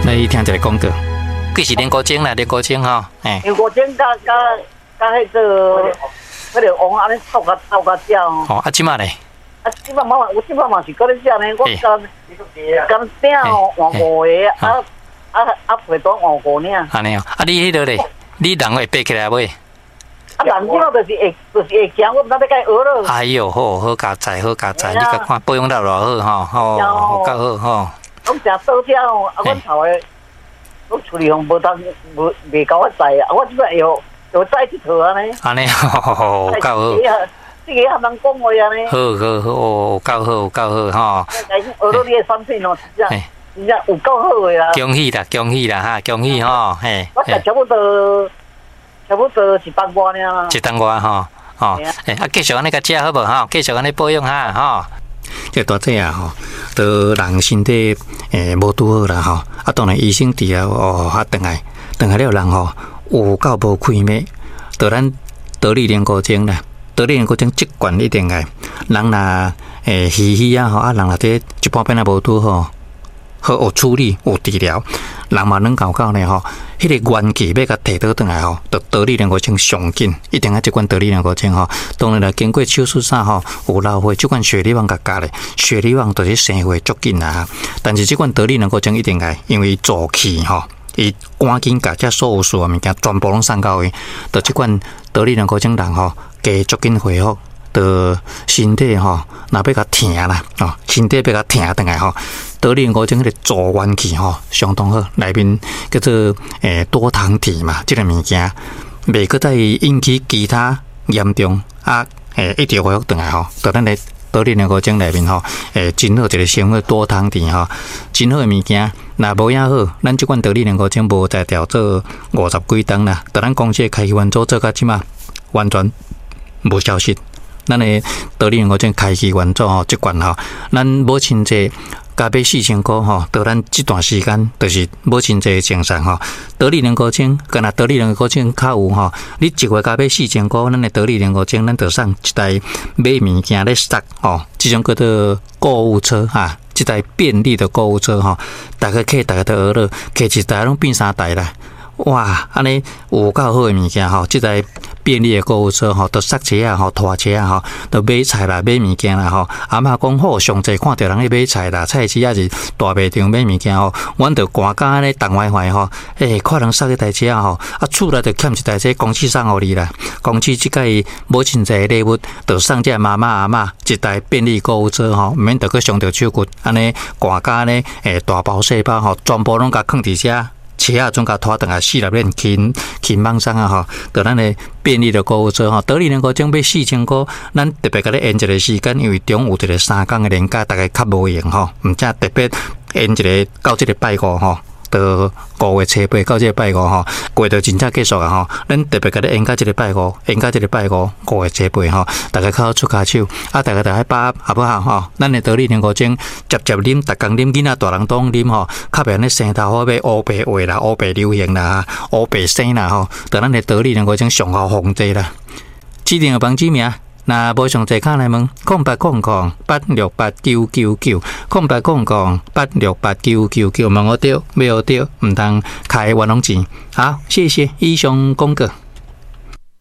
來聽一个廣告，幾時練古箏啦？練古箏吼，嘿。練古箏佮佮佮彼個彼个王按呢湊較湊較食哦。哦，啊，這馬咧？啊，這馬嘛，我這馬嘛是閣咧食呢，我敢敢鼎吼換五个，啊啊啊被單換五領。按呢哦，啊你彼个咧？你人會爬起來未？啊，人這馬就是會，就是會行，我毋知欲共伊學囉。哎喲，好好佳哉，好佳哉，你共看保養了偌好吼，吼，夠好吼。攏誠倒車吼，啊，阮頭的，攏厝裡吼無當無袂夠我載啊，我這擺會會載𨑨迌按呢。按呢，吼，夠好。這个含人講話按呢。好好好，哦，夠好，夠好吼。學到你的產品哦，真正真正有夠好的啦。恭喜啦，恭喜啦，哈，恭喜吼，嘿。我食差不多，差不多一冬外爾。一冬外吼，吼，欸，啊，繼續按呢共食好無吼？繼續按呢保養哈，吼。這大姐啊吼，都人身體無拄好啦吼，啊，當然醫生治療哦，啊，轉來轉來了人吼，有夠無開咩？就咱桃李龍骨精啦，桃李龍骨精這罐一定愛，人若虛虛啊吼，啊，人若這一般變啊無拄好，好有處理有治療，人嘛軟厚厚呢吼，彼个元氣欲共提倒轉來吼，就桃李龍骨精上緊，一定愛這罐桃李龍骨精吼。當然啦，經過手術啥吼，有流血，這罐雪梨王共加咧，雪梨王就是生血足緊啦。但是這罐桃李龍骨精一定愛，因為助氣吼，伊趕緊共這所有需要物件全部攏送到位，就這罐桃李龍骨精人吼，加足緊恢復。就身體吼，若欲共疼啦，哦，身體欲共疼轉來吼，桃李龍骨精彼個助元氣吼，相當好，內面叫做多糖體嘛，這個物件袂閣再引起其他嚴重啊，一直恢復轉來吼，就咱的桃李龍骨精內面吼，真好一個成分多糖體吼，真好的物件，若無影好，咱這款桃李龍骨精無才調做五十幾冬啦，就咱公司的開機元組做到這馬完全無消息。咱的桃李龍骨精開機元組吼，這罐吼，咱母親節共買4000箍吼，到咱這段時間就是母親節的精神吼。桃李龍骨精，敢若桃李龍骨精較有吼，你一月共買四千箍，咱的桃李龍骨精，咱就送一台買物件咧塞吼，這種叫做購物車哈，這台便利的購物車吼，逐家客逐家都學了，客一台攏變三台啦。哇，按呢有夠好的物件吼，這台便利的購物車吼，都塞車啊吼，拖車啊吼，都買菜啦，買物件啦吼。阿嬤講好，上濟看著人咧買菜啦，菜市抑是大賣場買物件吼，阮就寒甲按呢動歪歪吼，欸，看人塞彼台車吼，啊，厝內就欠一台車，公司送予你啦。公司這擺母親節禮物，就送這媽媽阿嬤一台便利購物車吼，毋免著閣傷著手骨，按呢寒甲按呢，欸，大包細包吼，全部攏共囥佇遮。車仔總共拖轉來四粒鏈輕輕網送啊吼，就咱的便利的購物車吼，桃李龍骨精買四千箍，咱特別共你延一个時間，因為中有一個三工的連假，逐家較無閒吼，毋才特別延一个到這个拜五吼。到5月初八到這个拜五吼，過就真正結束啊吼。咱特別共你延到這个拜五，延到這个拜五，五月初八吼，逐家較好出跤手，啊，逐家著愛把握好無好吼？咱的桃李龍骨精，捷捷啉，逐工啉，囡仔大人都啉吼，較袂按呢生頭髮欲烏白畫啦，烏白流行啦，烏白生啦吼。就咱的桃李龍骨精上好防治啦。指定的網址名，若無上濟敲來問，0800868999，0800868999，問我著，欲學著，毋通開冤枉錢。好，謝謝，以上廣告。